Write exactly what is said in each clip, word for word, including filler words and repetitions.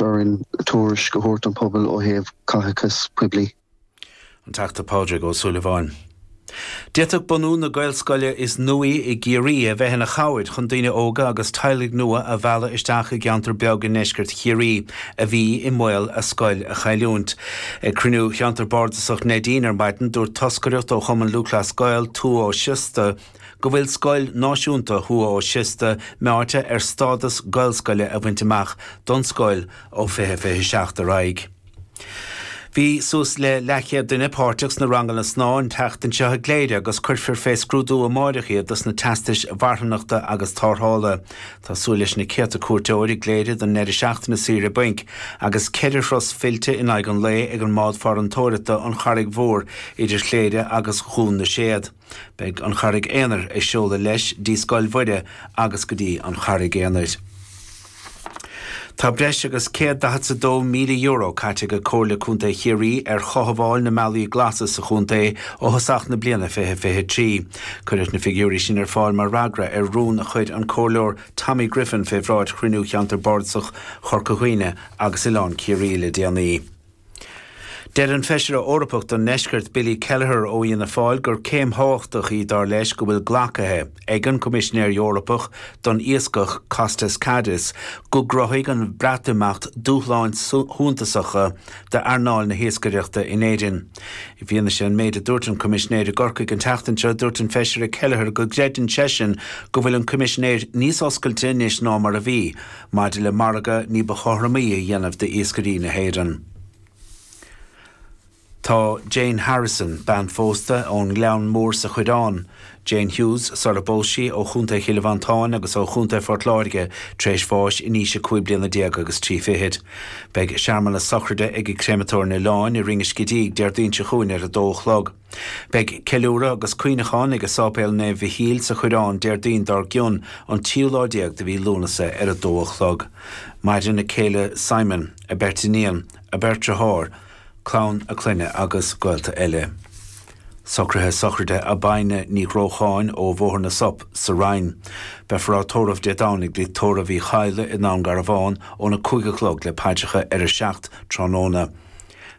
orainn tuairisc a thabhairt don pobal ó thaobh caiteachas poiblí. An Teachta Pádraig Ó Súilleabháin. D'fhéadfadh bunú na Gaelscoile is nuaí i gCiarraí a bheith ina chabhair chun daoine óga agus teaghlaigh nua a mhealladh isteach i gceantar beag i ndeisceart Chiarraí a bhí i mbaol a scoil a chailliúint. Ag cruinniú cheantar bardasach Neidín ar maidin dúirt toscaireacht ó Chumann Lúthchleas Gael Tuath Ó Siosta go bhfuil Scoil Náisiúnta Thuath Ó Siosta meáite ar stádas Gaelscoile a bhaint amach don scoil ó fiche fiche seacht ar aghaidh. Bhí suas le leathchéad duine páirteach sna ranganna snámha an tseachtain seo i gCléire agus cuirfear fé scrúdú amárach iad dos na teastais mharthanachta agus tarrthála. Tá súil leis na céadta cuairteoir i gCléire don ndeireadh seachtaine saoire bainc agus ceithre thuras fillte in aghaidh an lae ag an mbád farantóireachta An Charraig Mhór idir Chléire agus Dhún na Séad. Beidh An Charraig Aonair ag seoladh leis dtí Scoil Mhuire agus go dtí An Charraig Aonair. Tá breis agus céad daichead is a dó míle euro caite ag Comhairle Contae Chiarraí ar chothabháil na mbealaí glasa sa chontae ó thosach na bliana fiche fiche trí. Cuireadh na figiúirí sin ar fáil mar fhreagra ar rún a chuir an Comhairleoir Tommy Griffin fé bhráid chruinniú cheantar bardasach Chorca Dhuibhne agus Oileán Ciarraí le déanaí. Deir an Feisire Eorpach don nDeisceart Billy Kelleher ó Fhianna Fáil gur céim thábhachtach í dar leis go bhfuil glactha ag an Coimisinéir Eorpach don Iascach Costas Kadis go gcruthaigh an Breatimeacht dúshláin shuntasacha d'earnáil na hiascaireachta in Éirinn. I bhfianaise an méid a dúirt an Coimisinéir i gCorcaigh an tseachtain seo, dúirt an Feisire Kelleher go gcreideann seisean go bhfuil an Coimisinéir níos oscailte anois ná mar a bhí maidir le margadh ní ba chothromaí a dhéanamh d'iascairí na hÉireann. Tá Jane Harrison, bean phósta ón nGleann Mór sa Choireán, Jane Hughes, sara bpós sí ó Chontae Chill Mhantáin agus ó Chontae Phort Láirge tar éis bháis in aois a cúig bliana déag agus trí fichid. Beidh searmanas sochraide ag Créamatóir an Oileáin i Rinn an Scidígh Déardaoin seo chugainn ar a dó a chlog. Beidh ceiliúradh agus cuimhneachán ag Sáipéal Naomh Mhichíl sa Choireán Déardaoin dár gcionn an tríú lá déag de mhí Lúnasa ar a dó a chlog. Maireann a céile Simon, a beirt iníon, a beirt deartháir, clann a clainne agus gaolta eile. Socruithe sochraide Abina Ní Ghrócháin ó Bhóthar na Sop sa Rinn. Beifear á tórramh Dé Domhnaigh dtigh tórraimh Uí Chadhla i nDún Garbhán óna cúig a chlog le paidreacha ar a seacht tráthnóna.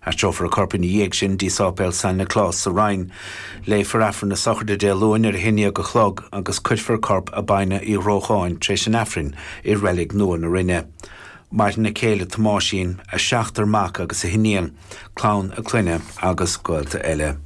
Aistreofar a corp ina dhiaidh sin dtí Sáipéal San Nioclás sa Rinn. Léifear Aifreann na sochraide Dé Luain ar a haon déag a chlog agus cuirfear corp Abina Uí Ghrócháin tar éis an Aifrinn i Reilig Nua na Rinne. Maireann a céile Tomáisín, a seachtar mac agus a hiníon, clann a clainne agus gaolta eile.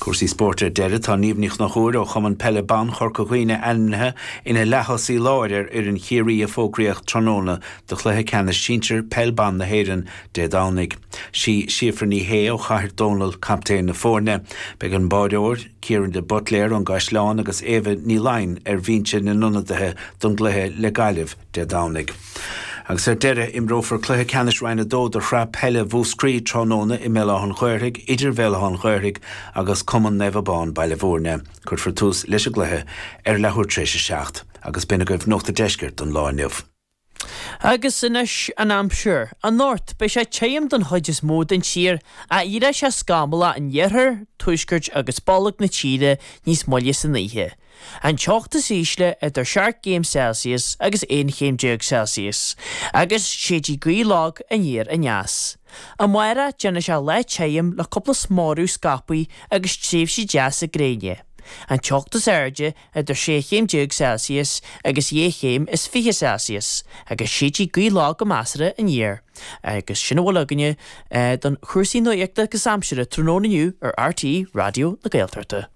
Cúrsaí spóirt ar deireadh, tá Niamh Ní Chonchúir ó Chumann Peile Ban Chorca Dhuibhne ainmnithe ina leath-thosaí láir ar fhoireann Chiarraí a fógraíodh tráthnóna do chluiche ceannais sinsir Peil Ban na hÉireann Dé Domhnaigh. Sí Síofra Ní Shé ó Chathair Dónall captaen na foirne. Beidh an báireoir, Ciaran de Buitléar ón gCaisleán agus Éabha Ní Laighin ar bhinse na n-ionadaithe don gcluiche le Gaillimh Dé Domhnaigh. Agus ar deireadh, imreofar cluiche ceannais Roinn a dó de Shraith Peile Mhúscraí tráthnóna i mBéal Átha an Ghaorthaidh idir Bhéal Átha an Ghaorthaidh agus Cumann Naomh Abán Baile Bhúirne. Cuirfear tús leis an gcluiche ar leathuair tar éis a seacht. Agus b'in agaibh Nuacht an Deiscirt don lá inniu. Agus anois an aimsir. Anocht, beidh sé tirim don chuid is mó den tír, ach éireoidh sé scamallach in iarthar, tuaisceart agus bolg na tíre níos moille san oíche. An teocht is ísle idir seacht gcéim Celsius agus aon chéim déag Celsius, agus séidfidh gaoth lag aniar aneas. Amárach, déanfaidh sé lá tirim le cúpla smearadh scaipthe agus tréimhsí deasa gréine. An teocht is airde idir sé chéim déag Celsius agus dhá chéim is fiche Celsius, agus séidfidh gaoth lag go measartha aniar. Agus sin a bhfuil againne don chúrsaí nuachta agus aimsire tráthnóna inniu ar RTÉ Raidió na Gaeltachta.